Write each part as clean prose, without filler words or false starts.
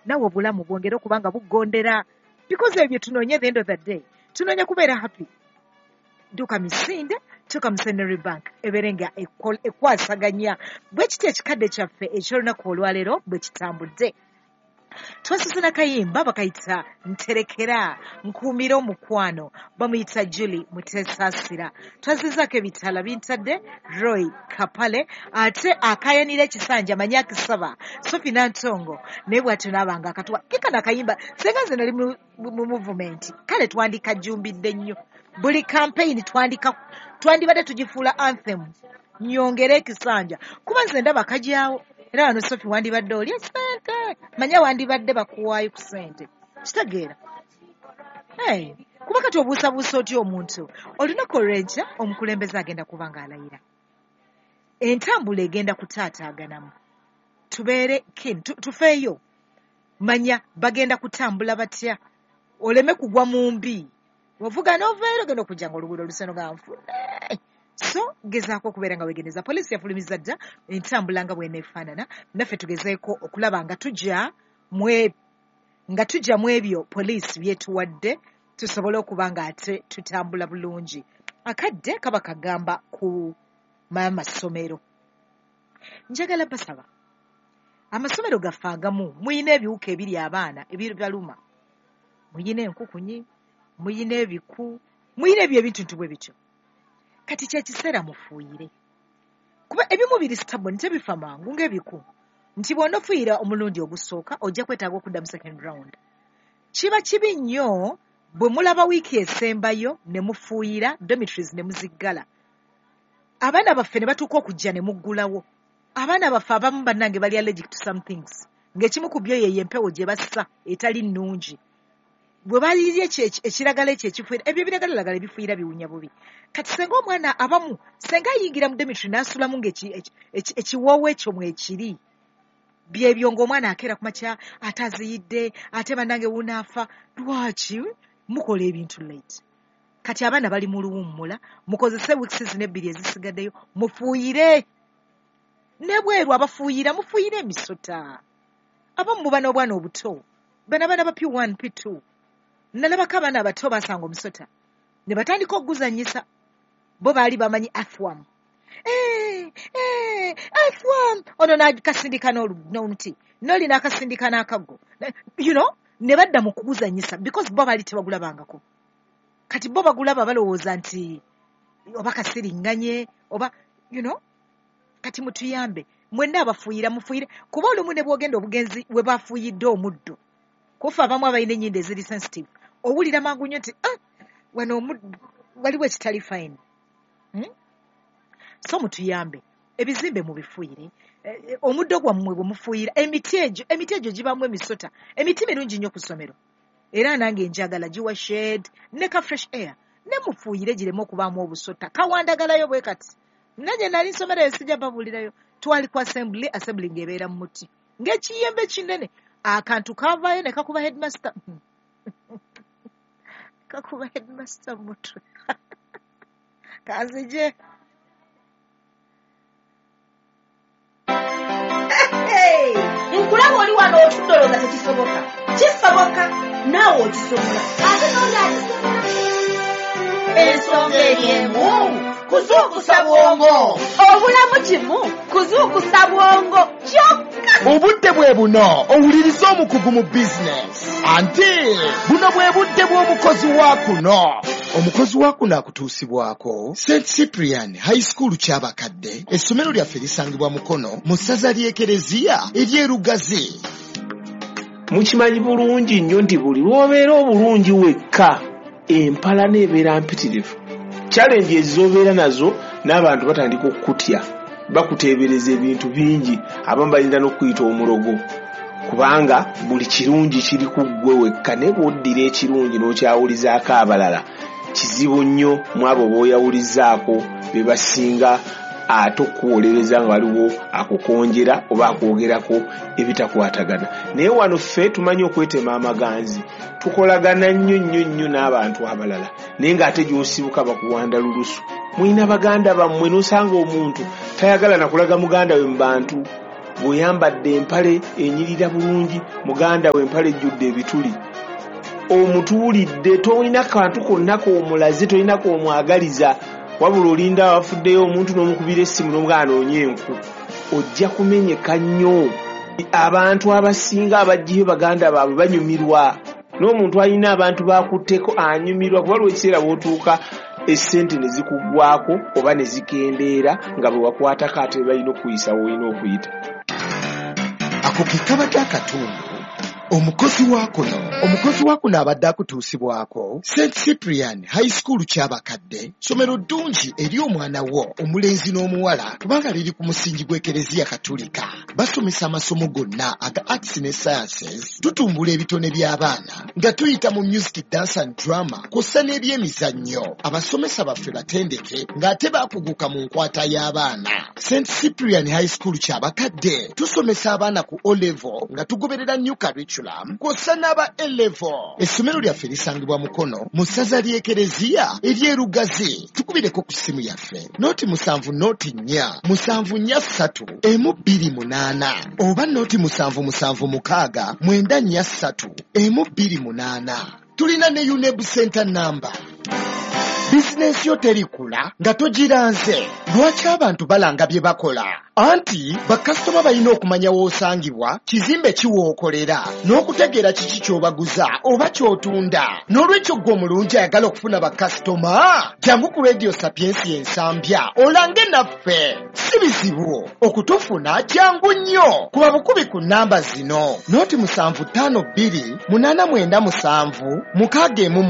Nawe obulamu bwongere okuba nga buggondera, because ebyo tunoonya. At the end of the day tunoonya kubeera happy. Dduka misinde, tuuka mu Centenary Bank, ebeere nga ekwasaganya bwe kityo. Ekikadde kyaffe eky'olunaku olwaleero bwe kitambudde, twasose nakayimba bakayita "Nterekera Nkuumira Omukwano", bamuyita Julie Mutesaasira. Twazizaako ebitala bintadde Roy Kapale, ate akayanira ekisanja manyi akisaba Sofi Nantongo, naye bwatyo naabanga akatuwa kekano akayimba. Senga nze nali mu movement, kale twandikajjumbidde nnyo. Buli campaign twandika twandibadde tugifuula anthem, "Nyongere Ekisanja", kuba nze ndaba kajaawo. Era wano Sofi wandibadde oli esente, manya wandibadde bakuwaayo ku sente, kitegeera? Hey, kuba kati obuusabuusa otya omuntu? Olunaku olw'enkya omukulembeze agenda kuba ng'alayira, entambula egenda kutaataaganamu. Tubeere keen, tufeeyo, manya bagenda kutambula batya, oleme kugwa mu mbi. Ovuga n'ovaero, ogenda okujja nga oluguudo oluseno ga nfune. So gezaako okubeera nga weegendereza. Poliisi yafulumiza dda entambula nga bw'eneefaanana. Naffe tugezeeko okulaba nga tujja mu ebyo poliisi byetuwadde, tusobole okuba nga ate tutambula bulungi. Akadde kaba kagamba ku amasomero. Njagala basaba, amasomero gaffe agamu muyina ebiwuka ebiri abaana ebibaluma, muyina enkukunyi, muyina ebiku, muyina ebyo ebintu nti bwe bityo. Kati kyekiseera mufuuyire, kuba ebimu biri stubborn, tebifa mangu ng'ebiku, nti bw'onofuuyira omulundi ogusooka ojja kwetaaga okudda mu second round. Kiba kibi nnyo bwe mulaba wiiki esembayo ne mufuuyira dormitories ne muziggala, abaana baffe ne batuuka okujja ne muggulawo. Abaana baffe abamu, bannange, bali allergic to some things, ng'ekimu ku byo yeyo empewo gye bassa etali nnungi. Bwe balirya ekiragala ekyo ekifuira, ebyo ebiragalalagala ebifuira biwunya bubi. Kati senga omwana abamu senga ayingira mu dormitory n'asulamu ng'ekiwoowo ekyo mwekiri, byebyo ng'omwana akeera ku makya ate aziyidde, ate bannange wunaafa. Lwaki mukola ebintu late? Kati abaana bali mu luwummula, mukozese weeks zino ebbiri ezisigaddeyo mufuuyire. Ne bweru abafuuyira, mufuuyire emisota. Abamu muba n'obwana obuto, bano abaana ba P1 P2, nalabako abaana abato basanga omusota ne batandika okuguzannyisa. Bo baali bamanyi earthworm. Eh, eh, earthworm ono n'akasindika n'omuti, n'oli n'akasindika n'akaggo, ne badda mu kuguzannyisa, because bo baali tebagulabangako. Kati bo bagulaba balowooza nti oba kasiriŋŋanye oba kati mutuyambe mwenna abafuuyira, mufuuyire, kuba olumu ne bwogenda obugenzi we bafuuyidde omuddo, kufa abamu abalina ennyindo eziri sensitive, owulira mangu nnyo nti, "Ah, wano waliwo ekitali fine." So mutuyambe, ebizimbe mubifuuyire. Omuddo gwammwe bwe mufuuyira, emiti egyo gibaamu emisota. Emiti mirungi nnyo ku ssomero, era nange njagala, giwa shade ne ka fresh air. Ne mufuuyire gireme okubaamu obusota. Kawandagalayo bwe kati. Nange nali nsomerayo, sijja babuulirayo, twali ku assembly, assembly ng'ebeera mu muti ng'ekiyembe kinene. Akantu kavaayo ne kakuba headmaster, kakuba headmaster mu mutwe. Kanzije. Hey! Nkulaba oli wano otudde olowooza tekisoboka. Kisoboka, naawe okisobola, ate n'oli akisobola. Ensonga eri emu, kuzuukusa bwongo. Obulamu kimu kuzuukusa bwongo kyokka. Obudde bwe buno owuliriza omukugu mu bizinesi, anti buno bwe budde bw'omukozi wa kuno. Omukozi wa kuno akutuusibwako St Cyprian High School Kyabakadde. Essomero lyaffe lisangibwa Mukono, mu ssaza ly'Ekereziya ery'Erugazi. Mukimanyi bulungi nnyo nti buli lw'obeera obulungi wekka, empalana ebeera mpitirivu. Challenge ez'obeera nazo, n'abantu batandika okukutya, bakuteebereza ebintu bingi. Abamu bayinza n'okuyita omulogo, kubanga buli kirungi kiri ku ggwe wekka. Naye bw'oddira ekirungi n'okyawulizaako abalala, kizibu nnyo mu abo b'oyawulizaako be basinga ate okukuwolereza nga waliwo akukonjera oba akwogerako ebitakwatagana. Naye wano ffe tumanyi okwetema amaganzi, tukolagana nnyo nnyo nnyo n'abantu abalala, naye ng'ate gy'osibuka bakuwanda lulusu. Mulina baganda bammwe, n'osanga omuntu tayagala nakulaga muganda we mu bantu. Bw'oyambadde empale enyirira bulungi, muganda we empale ejjudde ebituli, omutuulidde, tolina kantu konna k'omulaze, tolina k'omwagaliza, wabula olinda wafuddeyo omuntu n'omukubira essimu n'omugamba anoonye enku. Ojja kumenyeka nnyo. Abantu abasinga abajjayo baganda baabwe banyumirwa, n'omuntu alina abantu bakutteko anyumirwa, kuba lwa ekiseera bw'otuuka essente ne zikuggwako oba ne zikendeera nga bwe wakwatako ate balina okukuyisa w'olina okuyita. Ako ke kabadde akatundu omukozi wa kuno. Omukozi wa kuno abadde akutuusibwako St Cyprian High School Kyabakadde, ssomero ddungi eri omwana wo omulenzi n'omuwala kubanga liri ku musingi gw'Ekereziya Katulika. Basomesa amasomo gonna aga arts ne sciences, tutumbula ebitone by'abaana nga tuyita mu music, dance and drama kw'ossa n'ebyemizannyo. Abasomesa baffe batendeke ng'ate baakuguka mu nkwata y'abaana. St Cyprian High School Kyabakadde tusomesa abaana ku O level nga tugoberera new curriculum kw'ossa n'aba A level. Essomero lyaffe lisangibwa Mukono mu ssaza ly'Ekereziya ery'e Lugazi. Tukubireko ku ssimu yaffe 0 7 0 4 7 4 3 1 2 8 oba 0 7 7 6 9 4 3 1 2 8. Tulina ne UNEB center number. Bizinensi yo terikula nga togiranze. Lwaki abantu balanga bye bakola? Anti bakasitoma balina okumanya w'osangibwa, kizimbe kiwookolera, n'okutegeera kiki ky'obaguza oba ky'otunda. N'olwekyo ggwe omulungi ayagala okufuna bakasitoma, jangu ku Radio Sapiensi Ensambya olange naffe. Si bizibu okutufuna, kyangu nnyo. Kuba bukubi ku nnamba zino: 0 7 5 2 8 9 7 6 1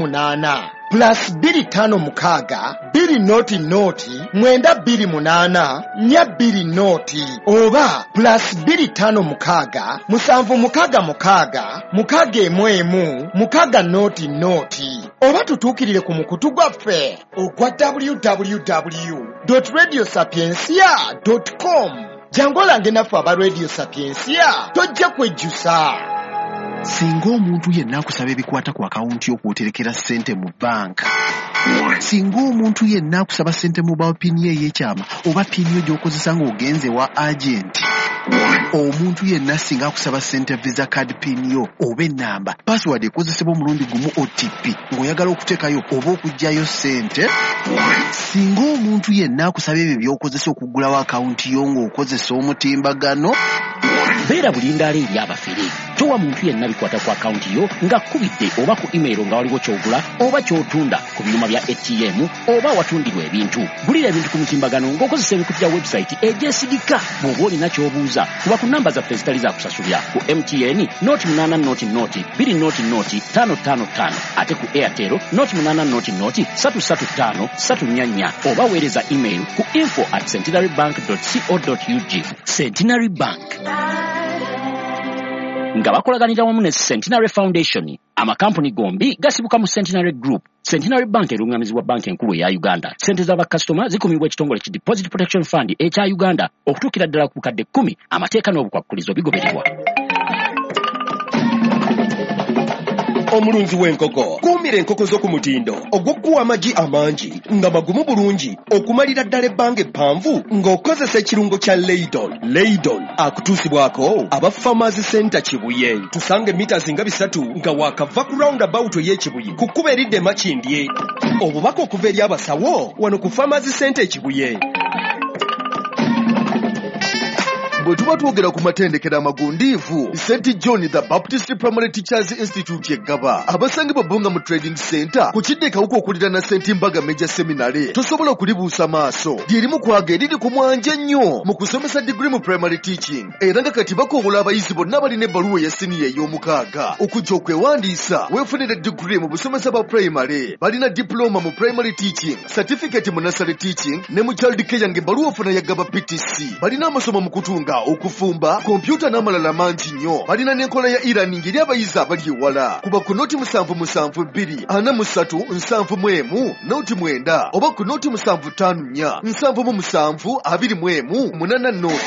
8, +256 2 0 0 9 2 8 4 2 0, oba +256 7 6 6 6 1 1 6 0 0, oba tutuukirire ku mukutu gwaffe ogwa www.radiosapiencia.com. Jangu olange naffe aba Radio Sapiencia, tojja kwejjusa. Singa omuntu yenna akusaba ebikwata ku akawunti y'okwoterekera ssente mu banka, singa omuntu yenna akusaba ssente mu mobile PIN yo ey'ekyama oba PIN yo gy'okozesa ng'ogenze wa agenti, omuntu yenna singa akusaba ssente Visa card PIN yo oba ennamba password ekozesebwa omulundi gumu OTP ng'oyagala okuteekayo oba okuggyayo ssente, singa omuntu yenna akusaba ebyo by'okozesa okuggulawo akawunti yo ng'okozesa omutimbagano, Beera bulindaala eri abafere. Towa muntu yenna bikwata ku akawunti yo ng'akkubidde oba ku email nga waliwo ky'ogula oba ky'otunda ku byuma bya ATM oba awatundirwa ebintu. Gulira ebintu ku mutimbagano ng'okozesa emikutu gya website egyesigika. Bw'oba olina ky'obuuza, kuba ku namba zaffe ezitali za kusasulira: ku MTN 0 8 0 0 2 0 0 5 5 5, ate ku Airtel 0 8 0 0 3 3 5 3 4 4, oba weereza email ku info@centenarybank.co.ug. Centenary Bank nga bakolaganira wamu ne Centenary Foundation. Amakampuni gombi gasibuka mu Centenary Group. Centenary Bank erungamizibwa Banka Enkulu eya Uganda. Sente z'abakasitoma zikumibwa ekitongole ki Deposit Protection Fund ekya Uganda okutuukira ddala ku bukadde 10. Amateeka n'obukwakkulizo bigobererwa. Omulunzi w'enkoko, kuumira enkoko zo ku mutindo ogw'okuwa amagi amangi nga magumu bulungi okumalira ddala ebbanga eppanvu ng'okozesa ekirungo kya Leidon. Leidon akutuusibwako aba Farmers Center Kibuye. Tusanga emita nga 3 nga waakava ku roundabout ey'Ekibuye ku kkubo eridda Emakindye. Obubaka okuva eri abasawo wano ku Farmers Center Ekibuye. Bwe tuba twogera ku matendekero amagundiivu, St John the Baptist Primary Teachers Institute eggaba abasangibwa Bbunga mu Trading Center ku kidda ekawuka okuliraana St Mbaga Major Seminary, tosobola kulibuusa maaso. Lyerimu kwaga eriri ku mwanje ennyo mu kusomesa diguri mu primary teaching, era nga kati bakoowola abayizi bonna abalina ebbaluwa eya siniya ey'omukaaga okujja okwewandiisa weefunire diguri mu busomesa bwa primary. Balina diploma mu primary teaching, certificate mu nursery teaching ne mu child care, ng'ebbaluwa ofuna yagaba PTC. Balina amasomo mu kutunga, okufumba, kompyuta n'amalala mangi nnyo. Balina n'enkola ya e-learning eri abayizi abali ewala. Kuba ku 0 7 7 2 43 71 0 9 oba ku 0 7 5 4 77 21 8 0.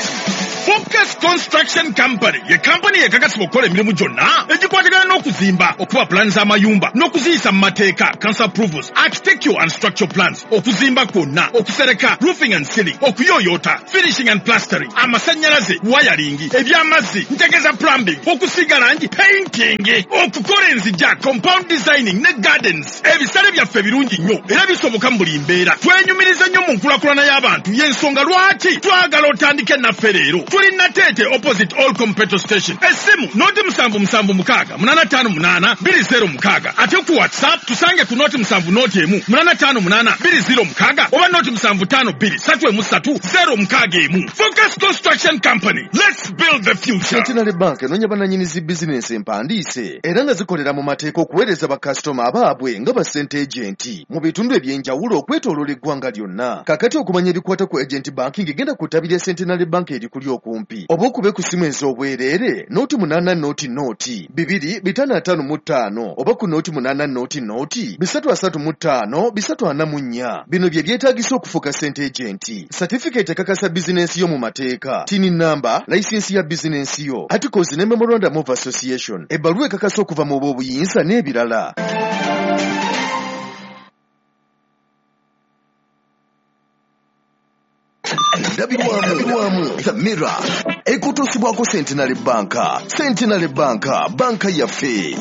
Focus Construction Company ye kampani ekakasibwa okukola emirimu gyonna egikwatagana. Ebyokuzimba, okuba pulaani z'amayumba n'okuziyisa mu mateeka, council approvals, architectural and structural plans, okuzimba kwonna, okusereka, roofing and ceiling, okuyooyoota, finishing and plastering, amasannyalaze, wiring, eby'amazzi, ntegeeza plumbing, okusiiga langi, painting, okukola enzija, compound designing ne gardens. Ebisale byaffe birungi nnyo era bisoboka mu buli mbeera. Twenyumiriza nnyo mu nkulakulana y'abantu, y'ensonga lwaki twagala otandike naffe leero. Tuli Nateete opposite All Petrol Station. Essimu 077 658 206, ate ku WhatsApp tusange ku 070 1 858 206 oba 075 2 3 3 061. Focus Construction Company. Let's build the future. Centenary Bank enoonya bannannyini zi bizinensi empandiise era nga zikolera mu mateeka okuweereza bakasitoma abaabwe nga ba sente agent mu bitundu eby'enjawulo okwetooloola eggwanga lyonna. Kaakati okumanya ebikwata ku agent banking, genda ku ttabi lya Centenary Bank erikuli okumpi oba okube ku ssimu ez'obwereere 080 00 255 oba ku 080 00 335 344. Bino bye byetaagisa okufuuka sente agent: certificate ekakasa bizinensi yo mu mateeka, TIN number, layisinsi ya bizinensi yo, articles ne memorandum of association, ebbaluwa ekakasa okuva mu b'obuyinza n'ebirala. Ndabirwamu The Mirror ekutuusibwako Centenary Bank. Centenary Bank, banka yaffe.